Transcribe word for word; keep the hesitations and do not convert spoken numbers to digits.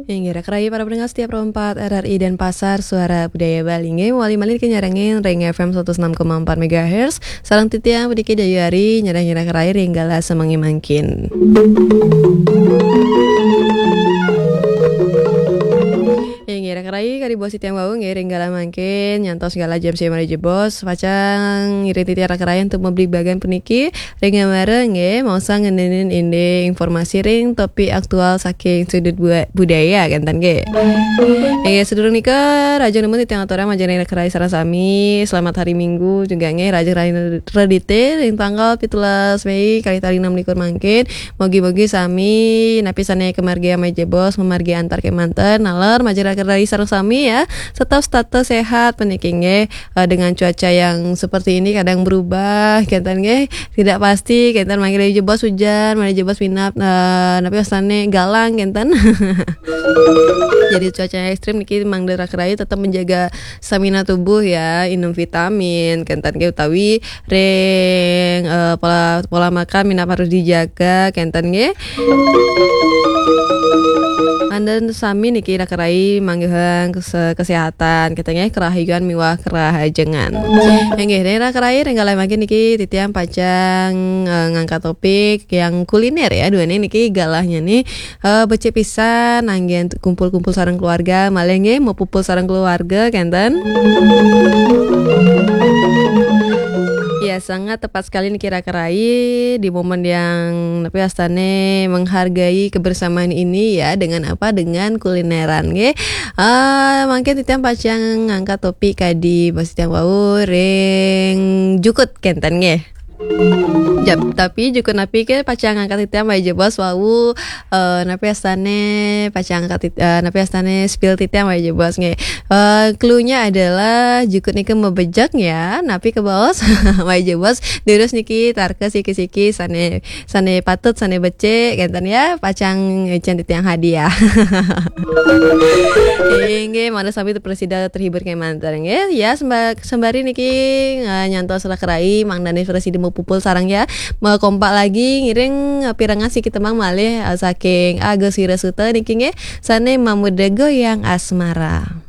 Inggih, raka rahayu para pendengar setia Pro empat R R I Denpasar, Suara Budaya Bali. Inggih, mawali malih niki nyarengin ring F M seratus enam koma empat megahertz. Sareng titiang puniki Dayu Ari, nyarengin raka rahayu ring galah semengé mangkin. Inggih, raka rahayu kadi bos titiang wau nggih ring galah mangkin, nyantos galah jam siji malih jebos, pacang ngiring titiang raka rahayu antuk mabligbagan puniki, ring gambaran nggih, maosang ngenénin indik informasi ring topik aktual saking sudut bu-, budaya, kénten nggih. Inggih, sadurung nika, rahajeng nunas titiang aturang majeng ring raka rahayu sareng sami, selamat hari Minggu juga nggih, rahajeng rahayu Redité ring tanggal pitulas Mei kalih tali enam likur mangkin. Mugi-mugi sami napi sané kamargiang malih jebos, mamargi antar kémanten, naler majeng raka rahayu sareng sami ya. Tetap, tetap sehat puniki nggih. Eh, dengan cuaca yang seperti ini kadang berubah, kénten nggih. Tidak pasti, kénten mangkin malih jebos hujan, malih jebos minab, eh, napi wastané galang, kénten. Jadi cuaca yang ekstrim niki mangda raka rahayu tetap menjaga stamina tubuh ya, inum vitamin, kénten nggih, utawi ring, eh, pola, pola makan minab harus dijaga, kénten nggih. Antuk sami niki raka rahayu manggihang kese-, kesehatan, kénten nggih, kerahayuan miwah kerahajengan. Inggih, ring raka rahayu ring galah mangkin niki titiang pacang, eh, ngangkat topik yang kuliner ya, duaning niki galahnya nih, eh, becik pisan, anggén kumpul-kumpul sareng keluarga, malih nggih mapupul sareng keluarga, kénten. Ya, sangat tepat sekali niki raka rahayu di momen yang napi wastané menghargai kebersamaan ini ya, dengan apa? Dengan kulineran nggih. Eh, mangkin titiang pacang ngangkat topik kadi bos titiang wau ring jukut, kénten nggih. Jap, tapi jukut napi ké pacang ngangkat titiang malih jebos wau, eh, napi wastané pacang ngangkat tit-, eh, napi wastané spill titiang malih jebos nggih. Eh, clue-nya adalah jukut nika mabejek ya, napi kabaos malih jebos, durus niki tarka siki-siki sané, sané patut, sané becik, kénten ya, pacang ngicén titiang hadiah. Inggih, mangda sami prasida terhibur kémanten nggih. Ya, semba-, sembari niki, eh, nyantos raka rahayu, mangdané prasida mapupul sareng ya. Makompak lagi ngiring, eh, pirengang siki tembang malih, eh, saking Agus Wirasuta niki nggih. Sané mamurda Goyang Asmara.